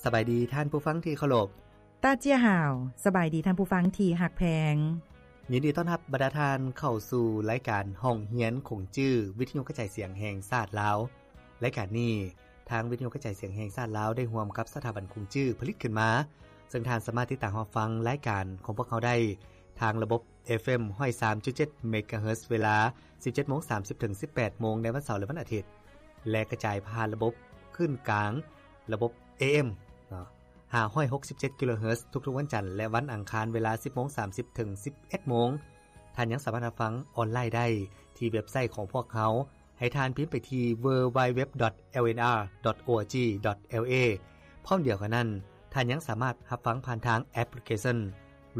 ສະບາຍດີທ່ານຜູ້ຟັງທີ່ເຄົາລົບ. ຕາເຈຍຫາວ ສະບາຍດີທ່ານຜູ້ຟັງທີ່ຮັກແພງ. ຍິນດີຕ້ອນຮັບບັນດາທ່ານເຂົ້າສູ່ລາຍການຫ້ອງຮຽນຂົງຈື່ ວິທະຍຸກະຈາຍສຽງແຫ່ງຊາດລາວ. ລາຍການນີ້ ທາງວິທະຍຸກະຈາຍສຽງແຫ່ງຊາດລາວ ໄດ້ຮ່ວມກັບສະຖາບັນຂົງຈື່ຜະລິດຂຶ້ນມາ, ເຊິ່ງທ່ານສາມາດຕິດຕາມຮັບຟັງລາຍການຂອງພວກເຮົາໄດ້ ທາງລະບົບ ເອຟເອັມ ຮ້ອຍສາມຈຸດເຈັດ ເມກາເຮີດ ເວລາ ສິບເຈັດໂມງສາມສິບ ເຖິງ ສິບແປດໂມງ ໃນວັນເສົາ ແລະ ວັນອາທິດ ແລະ ກະຈາຍຜ່ານລະບົບຄື້ນກາງ ລະບົບ ເອເອັມ ເນາະ ຫ້າຮ້ອຍຫົກສິບເຈັດ ກິໂລເຮີດ ທຸກໆວັນຈັນ ແລະ ວັນອັງຄານ ເວລາ ສິບໂມງສາມສິບ ເຖິງ ສິບເອັດໂມງ. ທ່ານຍັງສາມາດຮັບຟັງອອນລາຍໄດ້ທີ່ເວັບໄຊຂອງພວກເຮົາ. ໃຫ້ທ່ານພິມໄປທີ່ ดัບເບິນຢູ ດັບເບິນຢູ ດັບເບິນຢູ ດອດ ແອລເອັນ ອາ ດອດ ໂອ ອາ ຈີ ດອດ ແອລ ເອ ພ້ອມດຽວກັນນັ້ນ, ທ່ານຍັງສາມາດຮັບຟັງຜ່ານທາງແອັບພລິເຄຊັນ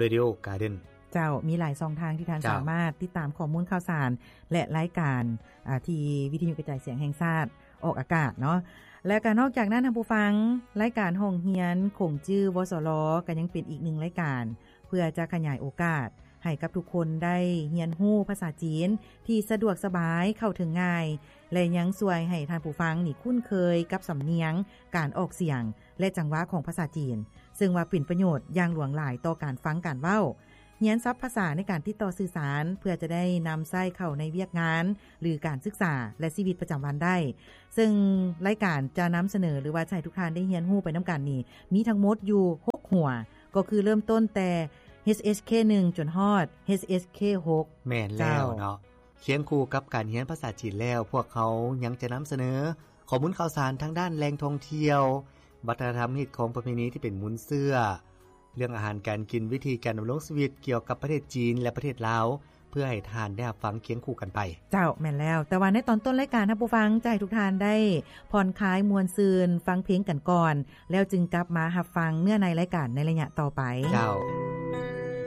Radio Garden. ເຈົ້າ, ມີຫຼາຍຊ່ອງທາງທີ່ທ່ານ ເຈົ້າ ສາມາດຕິດຕາມຂໍ້ມູນຂ່າວສານ ແລະ ລາຍການ ອາ ທີ່ວິທະຍຸກະຈາຍສຽງແຫ່ງຊາດອອກອາກາດເນາະ. ແລະ ກໍນອກຈາກນັ້ນ, ທ່ານຜູ້ຟັງ, ລາຍການຫ້ອງຮຽນຂົງຈື່ ວສລ ກໍຍັງເປັນອີກໜຶ່ງລາຍການ ເພື່ອຈະຂະຫຍາຍໂອກາດໃຫ້ກັບທຸກຄົນໄດ້ຮຽນຮູ້ພາສາຈີນທີ່ສະດວກສະບາຍ, ເຂົ້າເຖິງງ່າຍ ແລະ ຍັງຊ່ວຍໃຫ້ທ່ານຜູ້ຟັງນີ້ຄຸ້ນເຄີຍກັບສຳນຽງ, ການອອກສຽງ ແລະ ຈັງຫວະຂອງພາສາຈີນ, ເຊິ່ງວ່າເປັນປະໂຫຍດຢ່າງຫຼວງຫຼາຍຕໍ່ການຟັງການເວົ້າ. ຮຽນສັບພາສາໃນການຕິດຕໍ່ສື່ສານ ເພື່ອຈະໄດ້ນຳໃຊ້ເຂົ້າໃນວຽກງານ ຫຼື ການສຶກສາ ແລະ ຊີວິດປະຈຳວັນໄດ້. ເຊິ່ງລາຍການຈະນຳສະເໜີ ຫຼືວ່າຈະໃຫ້ທຸກທ່ານໄດ້ຮຽນຮູ້ໄປນຳກັນນີ້ ມີທັງໝົດຢູ່ຫົກຫົວ, ກໍຄືເລີ່ມຕົ້ນແຕ່ ເອສເອັສເຄ ໜຶ່ງ ຈົນຮອດ ເອສເອັສເຄ ຫົກ. ແມ່ນແລ້ວເນາະ. ເຈົ້າ. ຄຽງຄູ່ກັບການຮຽນພາສາຈີນແລ້ວ, ພວກເຮົາຍັງຈະນຳສະເໜີຂໍ້ມູນຂ່າວສານທາງດ້ານແຫຼ່ງທ່ອງທ່ຽວ, ວັດທະນະທຳ, ຮີດຄອງ, ປະເພນີທີ່ເປັນມູນເຊື້ອ, ເລື່ອງອາຫານການກິນ, ວິທີການດຳລົງຊີວິດກ່ຽວກັບປະເທດຈີນ ແລະ ປະເທດລາວ ເພື່ອໃຫ້ທ່ານໄດ້ຮັບຟັງຄຽງຄູ່ກັນໄປ. ເຈົ້າ, ແມ່ນແລ້ວ. ແຕ່ວ່າໃນຕອນຕົ້ນລາຍການ, ທ່ານຜູ້ຟັງຈະໃຫ້ທຸກທ່ານໄດ້ຜ່ອນຄາຍມ່ວນຊື່ນ, ຟັງເພງກັນກ່ອນ, ແລ້ວຈຶ່ງກັບມາຮັບຟັງເນື້ອໃນລາຍການໃນໄລຍະຕໍ່ໄປ. ເຈົ້າ.